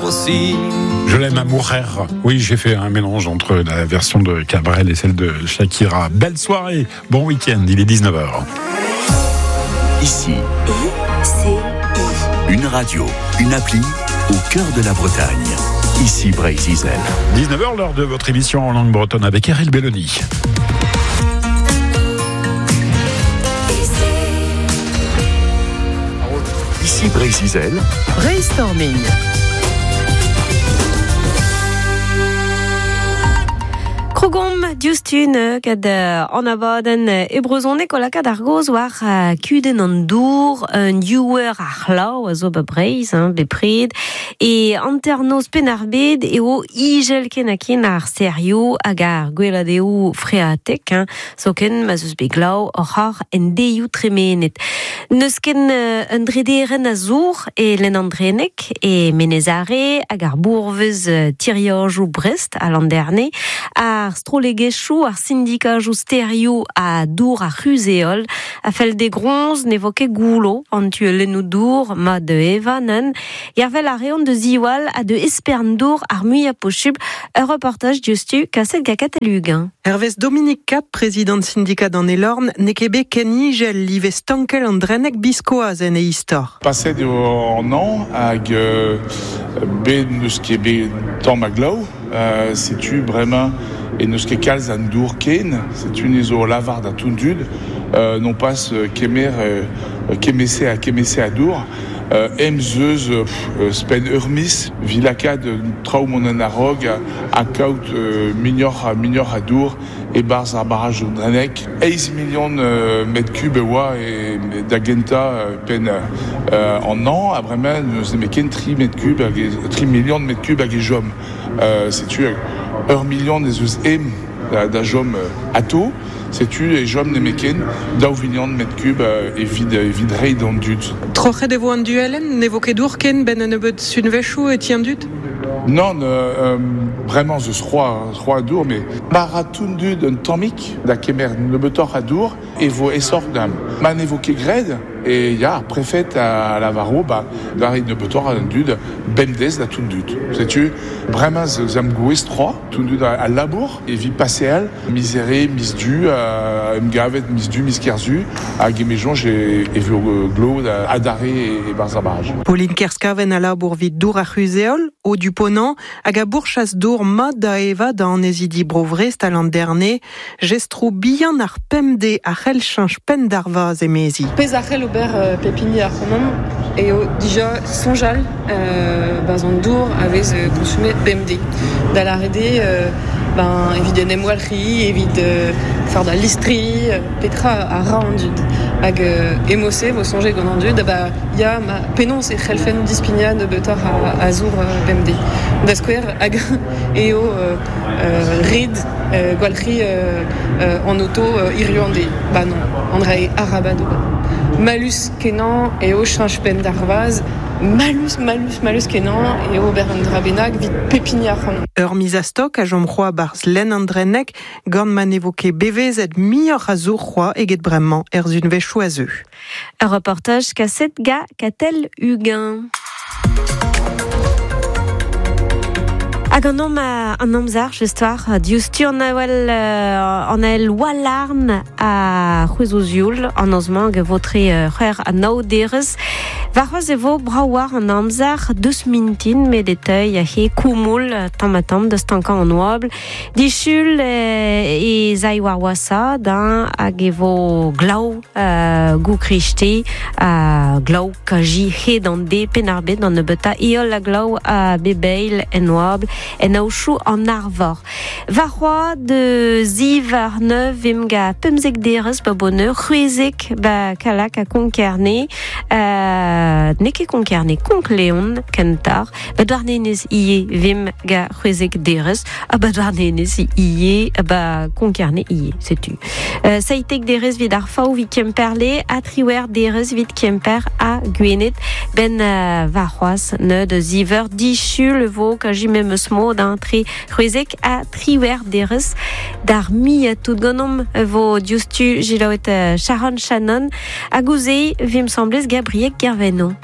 voici. Je l'aime à mourir. Oui, j'ai fait un mélange entre la version de Cabrel et celle de Shakira. Belle soirée, bon week-end, il est 19h. Ici, I, C, I. une radio, une appli au cœur de la Bretagne. Ici Breizh Izel. 19h, l'heure de votre émission en langue bretonne avec Eril Belloni. Ici Breizh Izel. Brainstorming. Krogomp diouzhtu gant an abadenn e brezhoneg o lakaat ar gaoz war kudenn an dour, un diouer ar c'hlav a zo ba Breizh, hein, bepred, e hanternoz Penn-ar-Bed eo ijel ken ha ken ar stêrioù hag ar gweladeoù freatek, hein, zoken ma 'z eus bet glav oc'h ar en deioù tremenet. N'eus ken un drederenn a zour e lenn an Dreneg, e Menez-Are hag ar bourvez tiriajoù Brest ha Landerne, ar strollegezhioù, ar sindikajoù stêrioù ha dour ar c'huzh-heol a fell dezhe groñs ne vo ket goullo an tuellennoù dour mat da evañ neuze. Gervel a reont da ziwall ha da espern dour ar muiañ posubl. Ur reportaj diouzhtu kaset gant Katell Uguen. Hervez Dominique Cap, prezidant sindikad an Elorn, n'eo ket bet ken ijel live stankel an Dreneg biskoazh en e istor. Paset eo an hañv hag bet n'eus ket bet tamm a glav. Setu bremañ e n'eus ket kalz a dour ken. Setu ni zo lavar da tout dud non pas kemer kemese ha kemese a dour. Em zeus spenn ur miz evit lakaat traoù mont en a-raok ha kaout muioc'h ha muioc'h a dour e-barzh ar barraj Dreneg. Eizh milion metr kub e oa da gentañ penn an hañv ha bremañ n'eus nemet ken tri metr kub hag tri milion metr kub hag e chom. Setu ur milion ez eus em da chom atao. Setu e chom nemetken daou vilion metr kub evit evit reiñ d'an dud. Troc'het e vo an duellenn? Ne vo ket dour ken 'benn un nebeud sunvezhioù e ti an dud? Nann, bremañ 'z eus c'hoazh dour, met ma ra tout dud un tammig da kemer nebeutoc'h a dour e vo aesoc'h da'm. Ma ne vo ket graet e ya ar prefed a lavaro ba da reiñ nebeutoc'h an dud bemdez da tout dud. Setu bremañ 'z am gouez 3 tout dud a labour evit paseal miz Here, miz Du, em gavet miz Du, miz Kerzu hag e me soñj e vo glav adarre e-barzh ar barraj. Pauline Kerskaven a labour 'vit dour ar c'huzh-heol, o du Ponant, hag a bourchas dour mat da evañ da annezidi Bro-Vrest ha Landerne. Jestroù bihan ar pemdez a c'hell cheñch penn d'ar vazh, emezi. Pezh a c'hell ober pep hini ac'hanomp eo dija soñjal 'barzh an dour a vez konsumet bemdez. Da lâret eo ben, evit en em walc'hiñ, evit fardañ listri, petra a ra an dud. Hag emo-se vo soñjet gant an dud, ba ya, ma penaos e c'hellfen dispignañ nebeutoc'h a zour bemdez. Da skouer, hag eo ret gwalc'hiñ an oto hiziv an deiz. Ba non, an dra-se arabat ober. Mallus-kenañ eo cheñch penn d'ar vazh. Mallus, mallus, mallus-kenañ eo ober un dra bennak evit pep hini ac'hanomp. Ur miz a-stok a chom c'hoazh 'barzh lenn an Drenneg gant ma ne vo ket bevezet muioc'h a zour c'hoazh eget bremañ er sunvezhioù a zeu. Ur reportaj kaset gant Katell Uguen. Hag an om an amzer just war diouzhtu an avel an ael Walarn a c'hwezho zioul an noz-mañ hag e vo tre c'hwec'h ha nav derez. Warc'hoazh e vo brav war an amzer deus mintin met e teuy he koumoul tamm-ha-tamm da stankañ an oabl. Disul ez ay war wasaat hein, hag e vo glav goukrichte ha glav kaji hed an de Penn-ar-Bed d'an nebeutañ heol ha glav a bep eil en oabl en aochoù an arvor. Warc'hoazh de ziv ar neuf vimp gant 15 derez ba Boneur, c'hwezek ba Kallag ha Konk-Kerne. N'eo ket Konk-Kerne, Konk-Leon kentoc'h. Ba Douarnenez ivez vimp gant c'hwezek derez ha ba Douarnenez ivez ba Konk-Kerne ivez, setu. Seitek derez evit ar Faou evit Kemperle ha triwec'h derez evit Kemper ha Gwened. Ben warc'hoazh neud ziveur disul e vo kaji memes mod hein, tre c'hwezek ha triwec'h derez. D'ar muiañ tout ganeomp e vo diouzhtu selaouet Sharon Shannon hag ouzh vimp 'sambles Gabriel Kervenno.